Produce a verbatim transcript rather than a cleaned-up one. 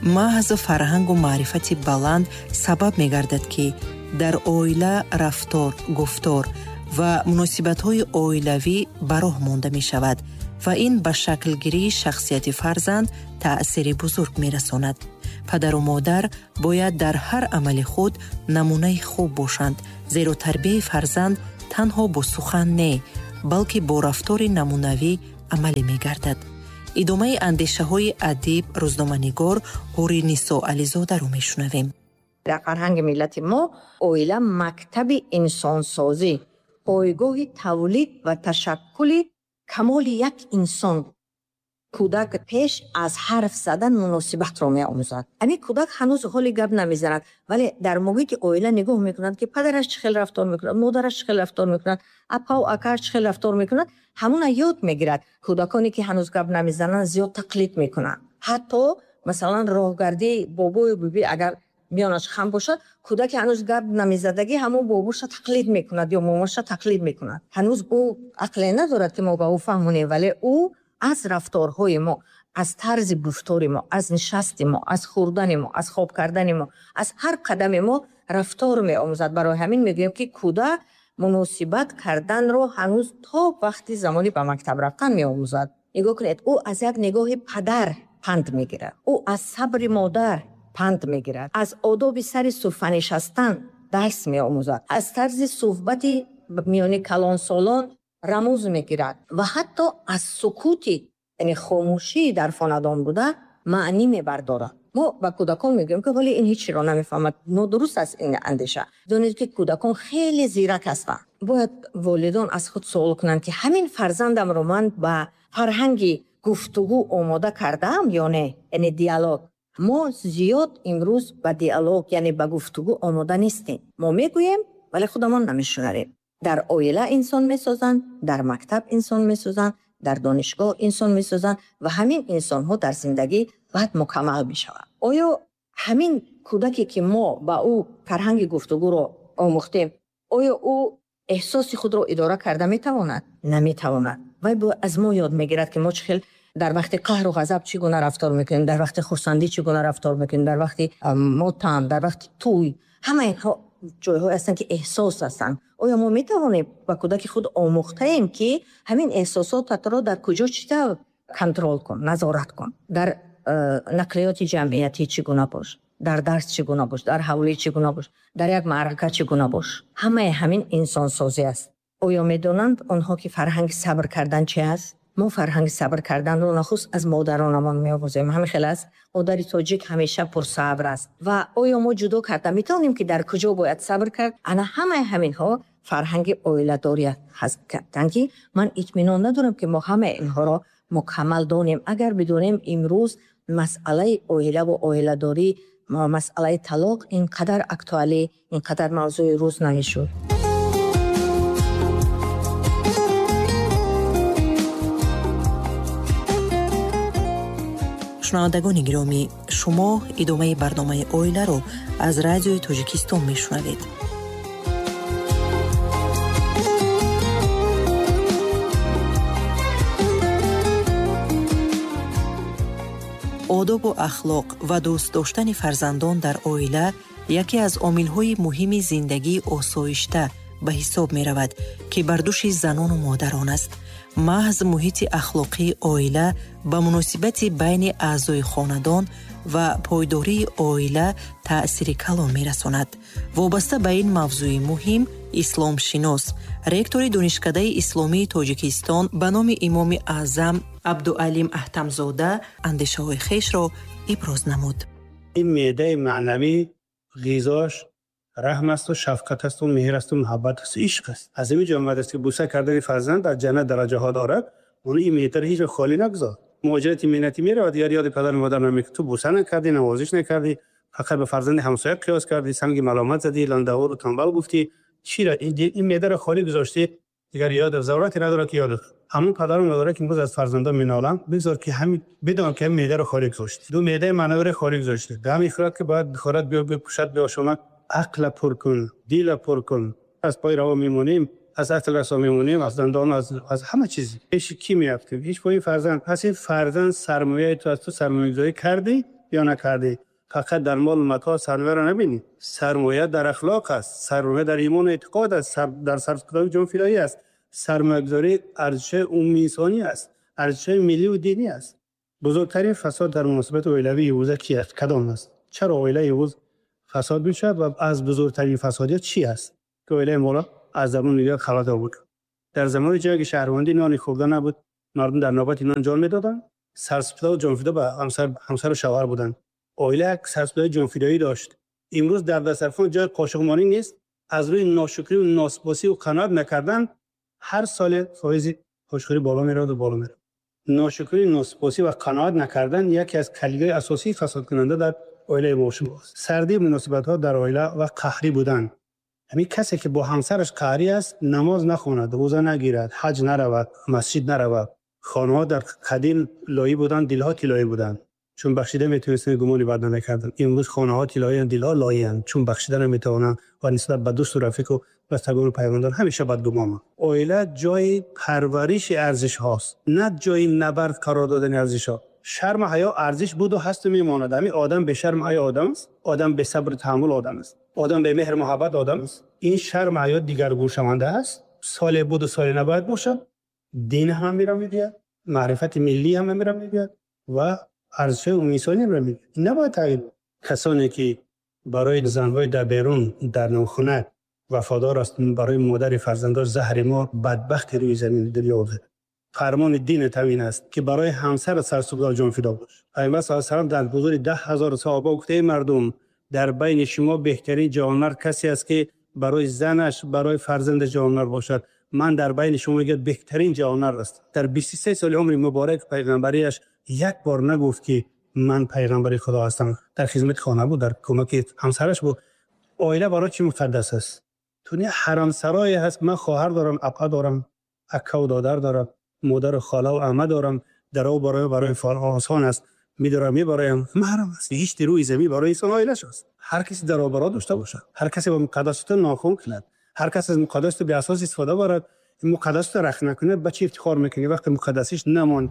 Маҳз фарҳангу маърифати баланд сабаб мегардад, ки дар оила рафтор, гуфтор ва муносибатҳои оилавӣ ба роҳ монда мешавад ва ин ба шаклгирии шахсияти фарзанд таъсири бузург мерасонад. Падару модар бояд дар ҳар амали худ намунаи хуб бошанд, зеро тарбияи фарзанд танҳо бо сухан не, балки бо рафтори намунавӣ амалӣ мегардад. Идомаи андешаҳои адиб, рӯзноманигор Ҳуринисо Ализодаро мешунавем. Дар фарҳанги миллати мо оила мактаби инсонсозӣ, пойгоҳи тавлид ва ташаккули камоли як инсон. Кӯдак пеш аз ҳарф задан муносибатро меомӯзад. Ҳамин кӯдак ҳанӯз ҳоли гап намезанад, вале дар муҳити оила нигоҳ мекунад, ки падараш чӣ хел рафтор мекунад, модараш чӣ хел рафтор мекунад, апау акааш чӣ хел рафтор мекунад, ҳамуна ёд мегирад. Кӯдаконе ки ҳанӯз гап намезананд зиёд тақлид мекунанд. Ҳатто масалан роҳгардии бобою биби агар миёнаш хам бошад, кӯдаке ҳанӯз гап намезадагӣ ҳамон бобоша тақлид мекунад ё момаша тақлид мекунад. Ҳанӯз ӯ ақле надорад, ки мо ба ӯ фаҳмонем, вале ӯ аз рафторҳои мо, аз тарзи гуфтори мо, аз нишасти мо, аз хӯрдани мо, аз хоб кардани мо, аз ҳар қадами мо рафтор меомӯзад. Барои ҳамин мегӯем, ки кӯдак муносибат карданро ҳанӯз то вақти замони ба мактаб рафтан меомӯзад. Нигоҳ кунед, ӯ аз як нигоҳи падар панд мегирад, ӯ аз сабри модар панд мегирад, аз одоби сари суфра нишастан дарс меомӯзад, аз тарзи суҳбати миёни калонсолон рамуз мегирад ва ҳатто аз сукути, яъне хомӯшии дар хонадон буда маънӣ мебардорад. Мо ба кӯдакон мегӯем, ки вале ин ҳеҷ чиро намефаҳмад. Нодуруст аст ин андеша. Донед, ки кӯдакон хеле зирак ҳастанд. Бояд волидон аз худ суол кунанд, ки ҳамин фарзандамро ман ба фарҳанги гуфтугӯ омода кардаам ё не, яъне диалог. Мо зиёд имрӯз ба диалог, яъне ба гуфтугӯ омода нестем. Мо мегӯем, вале худамон намешунавем. Дар оила инсон месозанд, дар мактаб инсон месозанд, дар донишгоҳ инсон месозанд ва ҳамин инсонҳо дар зиндагӣ баъд мукаммал мешаванд. Оё ҳамин кӯдаке, ки мо ба ӯ фарҳанги гуфтугӯро омӯхтем, оё ӯ эҳсоси худро идора карда метавонад? Наметавонад. Вай аз мо ёд мегирад, ки мо чӣ хел дар вақти қаҳру ғазаб чӣ гуна рафтор мекунем, дар вақти хурсандӣ чӣ гуна рафтор мекунем, дар вақти мотам, дар вақти тӯй. Ҳама инҳо ҷойҳое ҳастанд, ки эҳсос ҳастанд. Оё мо метавонем ба кӯдаки худ омӯхтаем, ки ҳамин эҳсосотатро дар куҷо чӣ тавр контрол кун, назорат кун? Дар нақлиёти ҷамъиятӣ чӣ гуна бош, дар дарс чӣ гуна бош, дар ҳавлӣ чӣ гуна бош, дар як маърака чӣ гуна бош. Ҳамаи ҳамин инсонсозӣ аст. Оё медонанд онҳо, ки фарҳанги сабр кардан чи аст? Мо фарҳанги сабр карданро нахуст аз модаронамон меомӯзем. Ҳамин хел аст. Модари тоҷик ҳамеша пурсабр аст. Ва оё мо ҷудо карда метавонем, ки дар куҷо бояд сабр кард? Ана ҳамаи ҳаминҳо фарҳанги оиладорӣ ҳастанд, ки ман итминон надорам, ки мо ҳамаи инҳоро мукаммал донем. Агар бидонем, имрӯз масъалаи оилаву оиладорӣ, масъалаи талоқ ин қадар актуалӣ, ин қадар мавзӯи рӯз намешуд. Шунавандагони гиромӣ, шумо идомаи барномаи оиларо аз радиои Тоҷикистон мешунавед. Одобу ахлоқ ва дӯст доштани фарзандон дар оила яке аз омилҳои муҳими зиндагии осоишта ба ҳисоб меравад, ки бар дӯши занону модарон аст. Маҳз муҳити ахлоқии оила ба муносибати байни аъзои хонадон ва пойдории оила таъсири калон мерасонад. Вобаста ба ин мавзӯи муҳим, исломшинос, ректори Донишкадаи исломии Тоҷикистон ба номи Имоми Аъзам Абдуалим Аҳтамзода андешаҳои хешро иброз намуд. Ин меъдаи маънавӣ ғизош раҳм асту шафқат асту меҳр асту муҳаббат асту ишқ аст. Аз ҳамин ҷо омадааст, ки бӯса кардани фарзанд дар ҷаннат дараҷаҳо дорад. Он ин меъдаро ҳеҷ вақт холӣ нагузор. Муҳоҷирати меҳнатӣ меравад, дигар ёди падару модар намекунад. Ту бӯса накардӣ, навозиш накардӣ, фақат ба фарзанди ҳамсоя қиёс кардӣ, санги маломат задӣ, ландавору танбал гуфтӣ. Чиро ин меъдаро холӣ гузоштӣ? Дигар ёд зарурате надорад, ки ёд ҳамон падару модаре, ки имрӯз аз фарзандон меноланд, бигзор, ки ҳамин бидон, ки ҳамин меъдаро холӣ гузоштӣ, ду меъдаи маънавиро холӣ гузоштӣ. Ғам мехӯрад, ки бояд бихӯрад, биё бипӯшад, биошомад. Ақла пур кун, дила пур кун. Аз пои раво мемонем, аз ақл расо мемонем, аз дандон, аз аз ҳама чиз. Пеши кӣ меафтем? Ҳеҷ пои фарзанд. Пас ин фарзанд сармояи ту аз ту сармоягузорӣ кардӣ, ё накардӣ. Фақат дар мол матоъ сармояро набинӣ. Сармоя дар ахлоқ аст, сармоя дар имон ва эътиқод аст, дар сарфкардани ҷонфидоӣ аст, сармоягузорӣ арзиши умумии инсонӣ аст, арзиши миллӣ ва динӣ аст. Бузургтарин фасод дар муносибати оилавии имрӯза чӣ аст? Кадом аст? Чаро оилаи имрӯз фасод мешавад ва аз бузургтарин фасодият чӣ аст, ки оилаи моро аз замони дигар халат овард? Дар замони ҷанги шаҳрвандӣ нони хӯрда набуд, мардум дар навбати нон ҷон медоданд, сарсупурда ва ҷонфидо ба ҳамсар, ҳамсар ва шавҳар буданд. Оила як сарсупурдаи ҷонфидоӣ дошт. Имрӯз дар дастархон ҷои қошуқмонӣ нест. Аз рӯи ношукрӣ ва носипосӣ ва қаноат накардан ҳар сол фоизи қошуқхӯрӣ боло меравад ва боло меравад. Ношукрӣ, носипосӣ ва қаноат накардан яке аз калидҳои асосии фасодкунанда дар оилаи мо аст. Сардии муносибатҳо дар оила ва қаҳрӣ будан. Ҳамин касе ки бо ҳамсараш қаҳрӣ аст, намоз нахонад, рӯза нагирад, ҳаҷ наравад, масҷид наравад. Хонаҳо дар қадим лоӣ буданд, дилҳо тилоӣ буданд. Чун бахшида метавонистанд, гумони бад намекарданд. Имрӯз хонаҳо тилоиянд, дилҳо лоиянд. Чун бахшида наметавонанд ва нисбат ба дӯсту рафиқ ва бастагон ва пайвандон ҳамеша бадгумонанд. Оила ҷои парвариши арзишҳост, на ҷои набард қарор додани арзишҳо. Шарму ҳаё арзиш буд ва ҳаст ва мемонад. Ҳамин одам бешарму ҳаё одам аст, одам бесабру таҳаммул одам аст, одам бемеҳру муҳаббат одам аст. Ин шарму ҳаё дигаргуншаванда аст. Соле буд ва соле набояд бошад. Дин ҳам ҳаминро мегӯяд, маърифати миллӣ ҳам ҳаминро мегӯяд ва арзишҳои умумии инсонӣ ҳам мегӯяд. Ин набояд тағйир кунад. Касоне ки барои занҳои дар берун дар нохуна вафодор ҳастанд, барои модари фарзандон заҳри мор бадбахти рӯи замини дунё аст. Фармони дини тавин аст ки барои ҳамсар сарсупурда ҷонфидо бош. Паёмбар саллаллоҳу алайҳи васаллам дар ҳузури даҳ ҳазор саҳоба гуфт: эй мардум, дар байни шумо беҳтарин ҷавонмард касе аст ки барои занаш, барои фарзандаш ҷавонмард бошад. Ман дар байни шумо мегӯям беҳтарин ҷавонмард аст. Дар бисту се соли умри муборак паёмбариаш як бор нагуфт ки ман паёмбари Худо ҳастам. Дар хидмати хона буд, дар кӯмаки ҳамсараш буд. Оила барои чӣ муқаддас аст? Туни ҳарамсарое ҳаст. Ман хоҳар дорам, апа дорам, ака ва додар дорам, модар ва хола ва амма дорам. Даро барои барои осон аст. Медорам, мебароям. Маҳрам аст. Ҳеҷ рӯи замин барои инсон оилааш аст. Ҳар касе даро баро дошта бошад, ҳар касе бо муқаддасот нохун кунад, ҳар кас аз муқаддасот беасос истифода барад, муқаддасотро рахт накунад, ба чӣ ифтихор мекунӣ вақте муқаддасиш намонд?